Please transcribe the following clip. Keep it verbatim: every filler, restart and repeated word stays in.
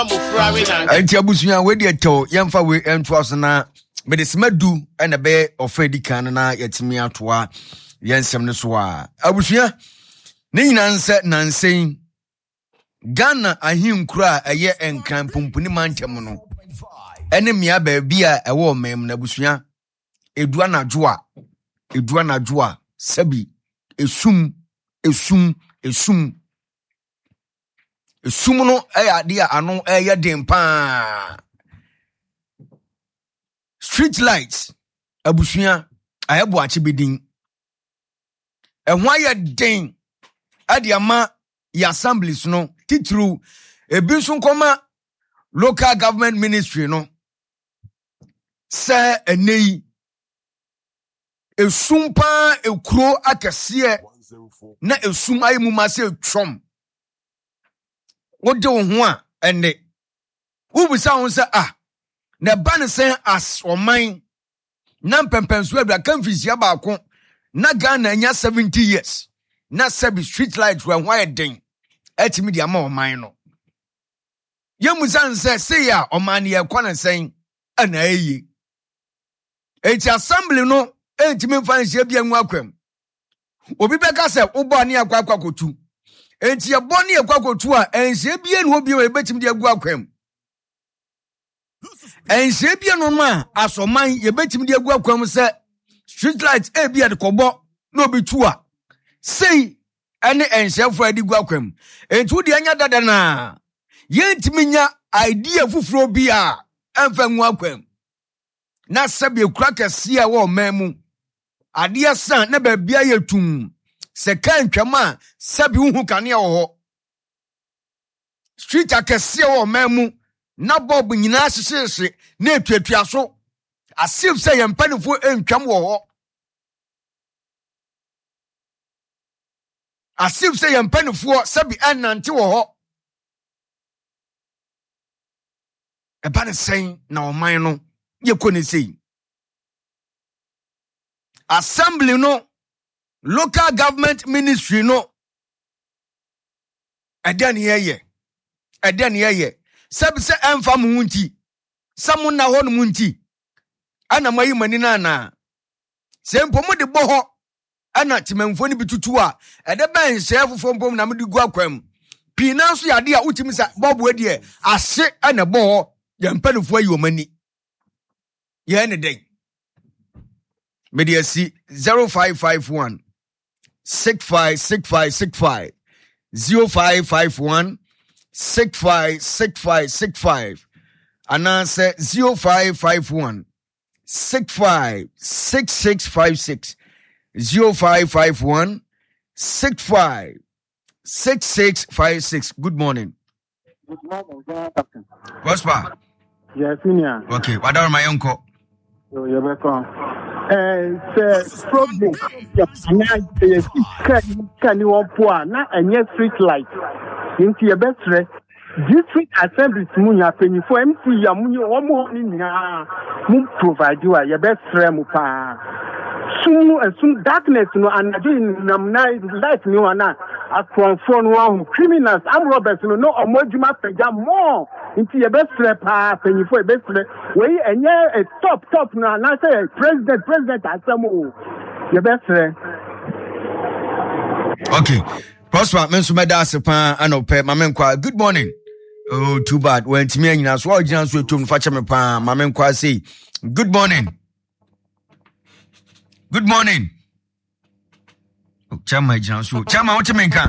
Nti abusua, wei deɛ tɛw, yɛmfa wei ntoa so na mede sima du ɛna ɛbɛyɛ ɔfa di kan no na yɛtumi atoa yɛn nsɛm no so a, abusua, ne nyinaa nsɛ nansɛn Ghana ahenkuro a ɛyɛ Nkran Pomponi mantam no ɛne mmea baabi a ɛwɔ ɔman mu no, abusua, edu anadwo a edu anadwo a sɛbi esum esum esum esum no ɛyɛ adeɛ a ano ɛyɛ den paa. Street light, abusua, ayɛ boakye bi din ɛho ayɛ den ɛde ama yɛ assemblies no titiriw, ebi nso nkɔma Local Government Ministry no sɛ ɛnɛ yi esum paa, ekuro akɛseɛ na esum ayɛ mu ma sɛ etwɔm. Wode wo ho a, ɛnɛ wobisa ho sɛ, ah, na ɛba ne sɛn as ɔman na mpɛmpɛnso aduaka mfirihyia baako na Ghana anya seventy years na sɛbi street light wɔ ho ayɛ den ɛtumi de ama ɔman no? Yɛmusa n sɛ sei a ɔman no yɛkɔ ne sɛn ɛna ɛyie? Enti assembly no ɛntumi mfa nhyia bi angu akwam. Obi bɛka sɛ wobɔ ne akɔ akɔ akɔtu, enti yɛbɔ ne yɛkɔ akɔtu a, ɛnhyia bie ne hɔ bio a yɛbɛtumi de agu akwam. Ɛnhyia bie no no a asɔman yɛbɛtumi de agu akwam sɛ street light ebi yɛde kɔbɔ na obi tu a, sei ɛne ɛnhyɛfoɔ a yɛde gu akwam. Enti wode anya dada naa yɛntumi nya idea foforɔ bi a ɛmfa ngu akwam na sɛbi ekura kɛseɛ a ɛwɔ ɔman mu, adeɛ san na baabi ayɛ tum sɛ kaa ntwam a, sɛbi wohu kanea wɔ hɔ. Street akɛseɛ wɔ ɔman mu na bulb nyinaa hyehyehye na etuatua so as if sɛ yɛn mpanimfoɔ ntwam wɔ hɔ, as if sɛ yɛn mpanimfoɔ sɛbi ɛnante wɔ hɔ. Ɛba ne sɛn na ɔman no yɛkɔ ne sei? Assembly no, Local Government Ministry no, ɛdɛn ne yɛyɛ? Ɛdɛn ne yɛyɛ? Sɛbi sɛ ɛmfa mo ho nti sɛ mo nna hɔ nom nti ɛna mo ayi mo ani no anaa? Sɛ mpo mode bɔ hɔ ɛna temamfoɔ no bi tutu a, ɛdɛ bɛn nhyɛɛ foforɔ mpo na mode gu akwan mu pii naa nso yɛ adeɛ a wotumi sɛ bɔɔbo deɛ ahye ɛna ɛbɔ hɔ. Yɛn mpanimfoɔ ayi wɔn ani, yɛn ne dɛn? Mede asi zero five five one six five six five six five, zero five five one six five six five six five anaasɛ zero five five one six five six six five six, zero five five one six five six six five six. Good morning. Good morning, Ghana Captain. Prosper. Yes, senior. Okay, wadaroma, yɛnkɔ. So, yɛbɛkɔ. Eh, sɛ problem anaa sɛ yɛsi kaa ni wɔn po a na ɛnyɛ street light nti, yɛbɛsrɛ district assemblies mu nya mpanyinfoɔ, M C a mu nye wɔn hɔ ne nyinaa mu provide a, yɛbɛsrɛ mu paa. Sum no, esum, darkness no, anadwo nam na light ni hɔ na akorɔmfoɔ no ahu criminals, armed robbers no na ɔmo adwuma pagya more. Nti yɛbɛsrɛ paa, mpanyinfoɔ, yɛbɛsrɛ. Wei ɛnyɛ eh, top top no anaasɛ president president asɛm o, yɛbɛsrɛ. Okay, Prosper, me nso mɛda ase paa anɔpɛ. Ma menkɔ a, good morning. Oh, too bad, wantumi anyina so a ɔgyina nso ɛtom no, fa kyɛ me paa. Ma menkɔ a sei, good morning, good morning. Oh, chairman gyina so. Chairman, wote me nka?